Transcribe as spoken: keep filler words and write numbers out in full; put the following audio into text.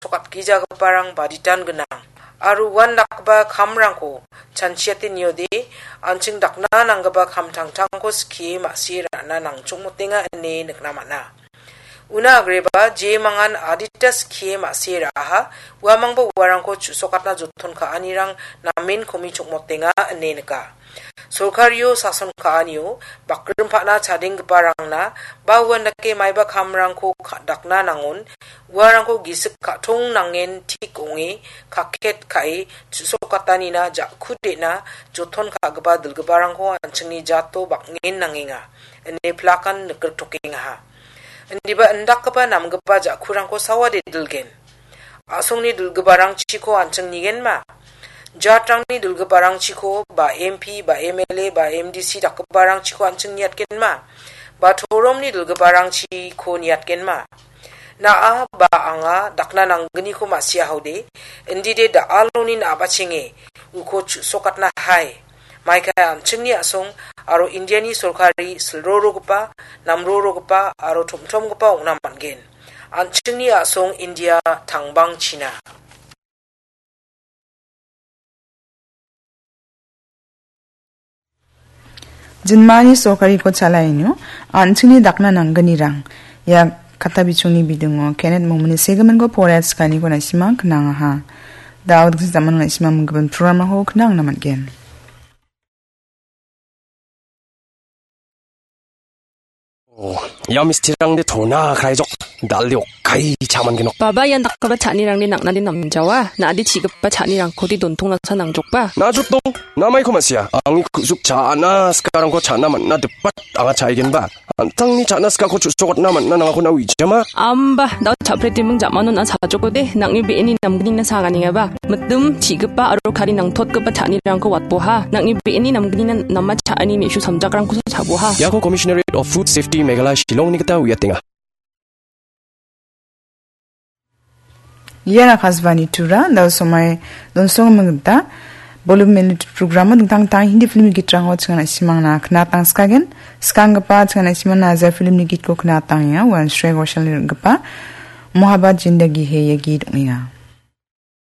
sokatgijagiparang baditan gnang. Aro uandakgipa kamrangko chanchiate niode, an·ching dakna nanggipa kam tangtangko skie ma·sie ra·na nangchongmotenga ine nikna man·a. Una agreba jemangan adita skie ma·sie ra·aha, uamangba uarangko chu·sokatna joton ka·anirang namen komi chongmotenga ine nika. Sorkario sason ka·anio bakrimpana chadenggiparangna ba uandake maiba kamrangko ka-, dakna nangon, uarangko gisik ka·tong nangen tik ong·e, kaket ka·e, chu·sokatanina ja·ku de·na joton ka·gipa dilgiparangko an·chingni jato bang·en nangenga, ine plakan nikrittokengaha. Indiba indakgipa namgipa ja·kurangko sawade dilgen. A·songni dilgiparangchiko an·ching nigenma? Jatrangni dilgiparangchiko ba M P, ba M L A, ba M D C dakgiparangchiko an·ching niatgenma? Ba toromni dilgiparangchiko niatgenma? Na·a ba anga dakna nanggniko ma·siahaode, indide da·aloni na·bachenge uko chu·sokatna hai. Maikai an·chingni a·song aro Indiani sorkari silrorogipa, namrorogipa aro tomtomgipa ong·na man·gen. An·chingni a·song India tangbangchina. Jinmani sorkariko chalaenio, an·chingni dakna nanggnirang. Ia kata bichungni bidingo Kenneth Momini segiminko poret skaniko na·simang knangaha. Da·o dingsa jaman na·simang minggimin programrangko knangna man·gen. Oh, ia mistirangde tona kraijok, dal·de okkai cha·mangenok. Baba, ian dakgipa cha·nirangde nang·nade namjawa, na·ade chi·gipa cha·nirangkode dontong nasa nangjokba. Najotdong, namaiko ma·sia, angni ku·suk cha·na sikarangko cha·na man·na dipat anga cha·aigenba. An·tangni cha·na sikako chu·sokatna man·na nangako na uijama. Amba, da·o cha·pretiming ja·mano na sajokode, nang·ni be·eni namgnina saganengaba. Mitim, chi·gipa aro kari nangtotgipa cha·anirangko watboha. Nang·ni be·eni namgnina nama cha·ani me·su samjakrangkosa cha·boha. Iako Commissionerate of Food Safety Meghalaya Shillongni gita uiatenga. Ian Akashvani Tura, da·o somai donsonggimin gita, bolum minit programo dingtang dingtang Hindi filmni gitrangko chingana·simangna knatangskagen, skanggipa chingana·simangna Nazar filmni gitko knatangengga, uan Shreya Ghoshal rim·gipa Mohabbat Zindagi Hai ia git ong·enga.